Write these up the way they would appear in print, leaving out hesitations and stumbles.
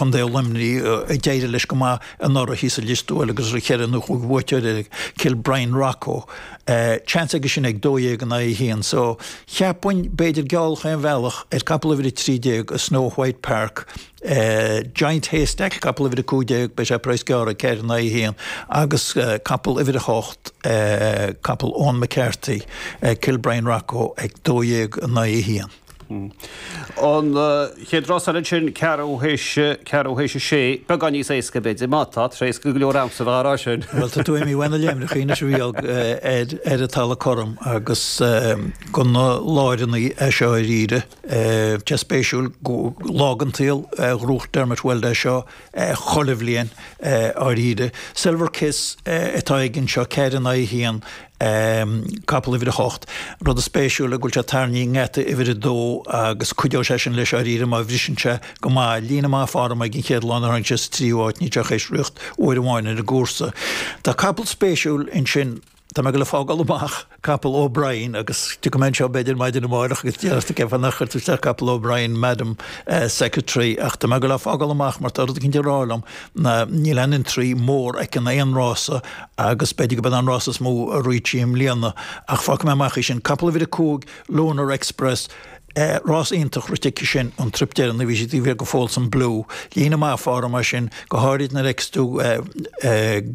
Contae Luimnigh, a d'éirigh leis go maith anuraidh thíos i Lios Tuathail agus raibh cheithre nó chúig bhuaiteoir air, Kilbrien Rocco. Seans aige sin ag 12 in aghaidh 1. So, cheapfainn, b'fhéidir geall chaon bhealach ar capall uimhir 13 i Snow White Park, Giant Haystack, capall uimhir 15, beidh sé praghas gearr ag 4 in aghaidh 1, agus capall uimhir 8, capall Eoin McCarthy, Kilbrien Rocco ag 12 in aghaidh 1. An chéad rás eile ansin, ceathrú théis, ceathrú théis a sé, beagán níos éasca b'fhéidir, má tá, tá sé éasca go leor a'msa bheith á rá sin. Bhuel, tá tú imithe uaidh na léimreachaí anois a Mhícheál ar an talamh cothrom agus go na láireannaí é seo dáiríre. Tá spéisiúil go lá den tsaol ghnóthaigh Dermot Weld é seo chuile bhliain dáiríre. Silver Kiss atá aige anseo, 4 in aghaidh 1, capall uimhir 8. Rud spéisiúil go bhfuil sé tarraingthe i ngeata uimhir 2 agus cuideoidh sé sin leis dáiríre má bhriseann sé go maith. Líne maith form ag an chéad lá nuair a tháinig sé sa tríú háit, níl sé ach théis riocht uair amháin ar an gcúrsa. Tá capall spéisiúil ansin. Tá mé ag dul a fágáil amach capall O'Brien agus tiocfaidh mé anseo b'fhéidir maidin amárach agus déarfaidh tú cén fáth nár chuir tú isteach capall O'Brien, Madam Secretary ach tá mé ag dul a fágáil amach mar tá rud eicínt ag rá liom ná níl aon entry mór aici in aon rása agus b'fhéidir go b'in an rása is mó a rith sí i mbliana ach fágfaidh mé amach í sin. Capall uimhir 5, Lunar Express, Rás iontach rite aici sin an trip deireanach, bhí sí taobh thiar go Folsom Blue. Líne maith form é sin, go háirid nuair a fheiceas tú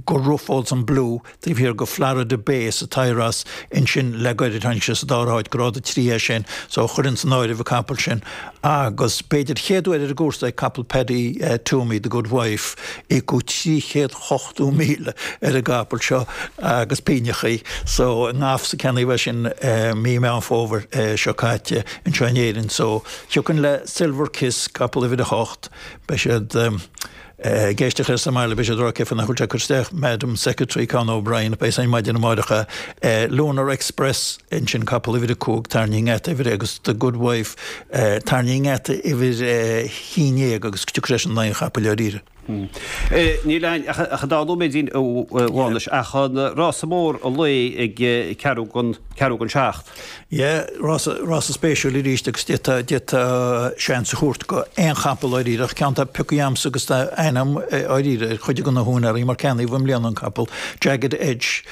gur rith Folsom Blue taobh thiar go Florida Bay sa tSaothras ansin le gairid, tháinig sé sa dara háit, grád 3 é sin, so chuirfinn san áireamh an capall sin. Agus b'fhéidir chéad uair ar an gcúrsa ag capall Paddy Twomey, The Good Wife, íocadh 380,000 ar an gcapall seo agus pínneachaí. So, i nGaffs a ceannaíodh é sin mí Meán Fómhair seo caite anseo in Éirinn. So, thiocfainn le Silver Kiss, capall uimhir 8, beidh siad ag éisteacht air sa mbaile, beidh siad ag rá cén fáth nach bhfuil sé ag cur isteach Madam Secretary Con O'Brien, beidh san maidin amáireach é. Lunar Express ansin, capall uimhir 5, tarraingthe i ngeata uimhir agus The Good Wife, tarraingthe i ngeata uimhir 11 agus tiocfaidh sé sin in aghaidh an chapaill dáiríre. Níl againn ach an dá nóiméidín a Mhánais ach an rása mór an lae ag ceathrú don ceathrú don seacht. Yeah, rása, rása spéisiúil arís agus d'fhéadfá, d'fhéadfá seans a thabhairt go aon chapall dáiríre ach ceann atá pioctha a'msa agus tá aithne a'm dáiríre ar chuid de na húinéirí mar ceannaíodh i mbliana an capall, Jagged Edge,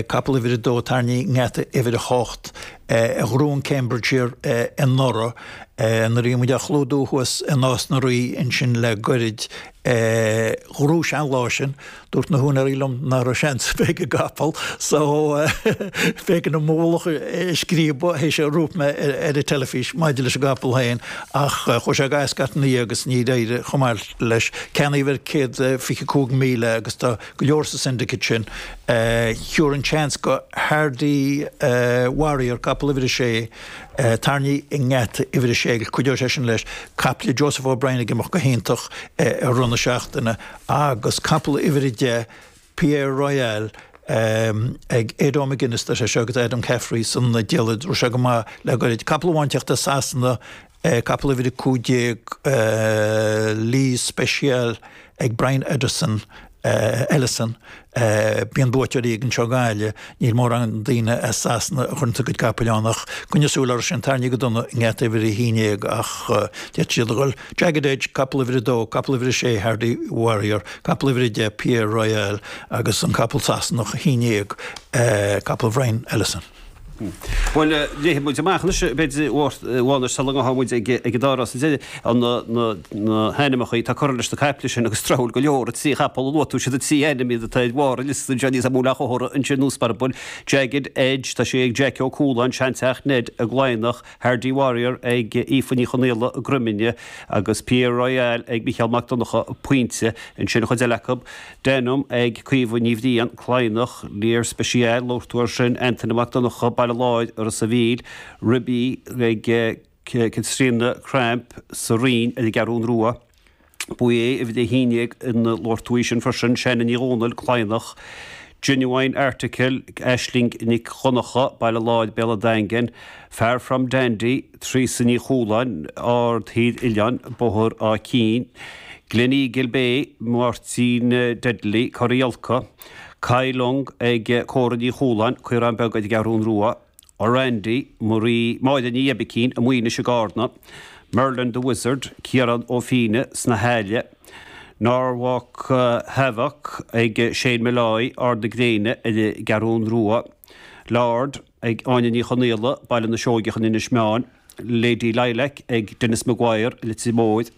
capall uimhir a dó, tarraingthe i ngeata uimhir a hocht, a ghnóthaigh an Cambridgeshire anuraidh. Nuair a bhí muid á chlúdú thuas i Nás na Rí ansin le goirid, ghnóthaigh sé an lá sin, dúirt na húinéirí liom nach raibh seans ar bith ag an gcapall so b'éigean dom mo mhullach a scríobadh théis a dúirt mé ar an teilifís maidir leis an gcapall féin ach chuaigh sé go Ascot ina dhiaidh agus níor éirigh chomh maith leis. Ceannaíodh ar 125,000 agus tá go leor sa syndicate sin. Thiúrfainn seans go Hardy Warrior, capall uimhir a sé, Tarraingthe i ngeata uimhir a sé agus cuideoidh sé sin leis. Capall le Joseph O'Brien ag imeacht go hiontach i rith na seachtaine agus capall uimhir a 10, Pierre Royale, ag Ado McGuinness, tá sé seo agus Adam Caffrey san diallait, raibh sé go maith le goirid. Capall amháin teacht as Sasana, capall uimhir a 15, Lee Special ag Brian Ederson, Ellison, Bíonn buaiteoirí ag anseo i nGaillimh, níl mórán daoine as Sasana a chuireann a gcuid capaill ann ach coinnigh súil orthu sin, tarraingthe go dona i ngeata uimhir 11 ach d'fhéadfadh siad a dhul. Jagged Edge, capall uimhir 2, capall uimhir 6 Hardy Warrior, capall uimhir 10 Pierre Royale agus an capall Sasanach 11, capall Bhrian Ellison. Bhuel, léifidh muid amach anois, b'fhéidir, a Mhánais, sula ngabhfaidh muid ag an dá rás deiridh, na hainmneacha atá curtha leis na caiple sin agus tráthúil go leor, an trí chapall a luaigh tú, siad an trí ainm iad atá ar bharr an liosta anseo, níos mó le chomhartha ansin nó sparbaill. Jagged Edge, tá sé ag Jackie Ó Cualáin, Seanteach Ned i gCladhnach, Hardy Warrior ag Aoife Ní Chonaola i gCroimne agus Pierre Royale ag Mícheál Mac Donncha, Pointe. Ansin an chuid eile acu. Denham ag Caoimhe Ní Bhriain, Cladhnach, Lear Special, labhair tú air sin, Antaine Mac Donncha, Baile Láir, Ros a' Mhíl, Ribí ag Caitríona Cramp sa Rinn ar an gCeathrún Rua, Bouvier uimhir a haon déag ina labhair tú í sin freisin, Shannon Ní Dhomhnaill, Cladhnach, Genuine Article, Aisling Nic Dhonncha, Baile Láir, Béal an Daingin, Far From Dandy, Treasa Ní Chualáin, Aird Thír Oileáin, Bóthar Áth Cinn, Gleneagle Bay, Máirtín Dudley, Cora Iolca, Kai Lung ag Córa Ní Chualáin, Caorán Beag ar an gCeathrún Rua, Orandy, Marie, Máire Ní Oibicín, i Muínis i gCarna, Merlin the Wizard, Ciarán Ó Fíne sna hAille, Norwalk Havoc ag Shane Molloy, Ard na Gréine ar an gCeathrún Rua, Lord ag Áine Ní Chonaola, Baile na Seoigeach in Inis Meáin, Lady Lilac ag Denis Maguire, Leitir Móir,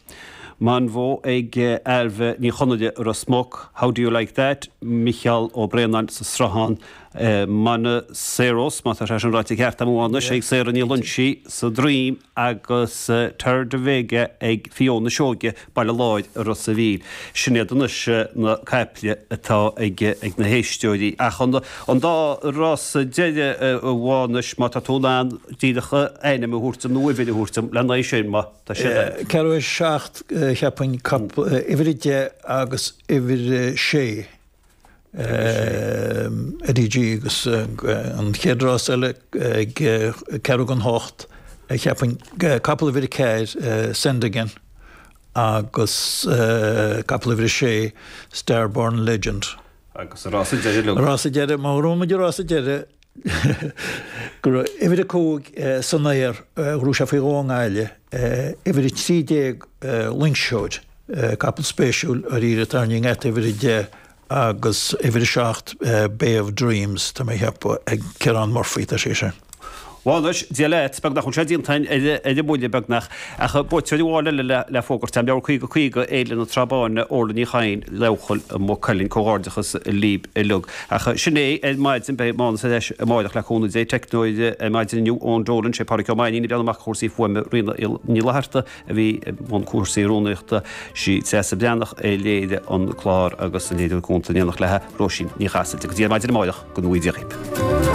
Monvo ag Ailbhe Ní Chonaire, Ros Muc, How Do You Like That, Micheál Ó Braonáin sa Sruthán, Monoceros, má tá sé sin ráite ceart agam anois, ag Sarah Ní Loinsigh sa Droim agus Terre de Vega ag Fiona Seoige, Baile Láir i Ros a' Mhíl. Sin iad anois na caiple atá ag na héisteoirí. Ach an dá rása deiridh a Mhánais, má tá tú in ann díreach ainm a thabhairt dom nó uimhir a thabhairt dom lena aghaidh sin, má tá siad ann. Ceathrú théis 7, cheapfainn, uimhir 10 agus uimhir 6. Eddie G agus an chéad rás eile ag ceathrú don hocht, cheapfainn, capall uimhir 4, Send Again, agus capall uimhir 6, Starborn Legend. Agus an rása deiridh uilig. An rása deiridh, má ghnóthaíonn muid an rása deiridh, go raibh uimhir 5 san aer, ghnóthaigh sé faoi dhó i nGaillimh, uimhir 13 Loingseoir. Capall spéisiúil dáiríre atá i ngeata uimhir 10 agus uimhir 7 Bay of Dreams, tá mé a cheapadh, ag Ciarán Murphy atá sé sin. Bhuel anois, Dia leat, beagnach bhfuil sé déanta againn ar an mbuille beagnach, ach buaiteoir amháin eile le fógairt agam, leabhar 50 50, Fhéile na Trá Báine, Orla Ní Chadhain, Leabhchoill, Maigh Cuilinn, comhghairdeachas libh uilig. Ach sin é ar maidin, beidh Mánas ar ais amáireach le cúnamh Dé, teicneoir ar maidin inniu, Eoin Dolan, sé Pádraic Ó Mainnín ag breathnú amach chúrsaí fuaime, Ríona Ní Fhlatharta, a bhí i mbun cúrsaí rúnaíochta, sí Treasa Breathnach a léirigh an clár agus an léiritheoir cúnta in éineacht léi, Róisín Ní Chasaide. Go dtí ar maidin amáireach, go ngnóthaí Dia dhaoibh.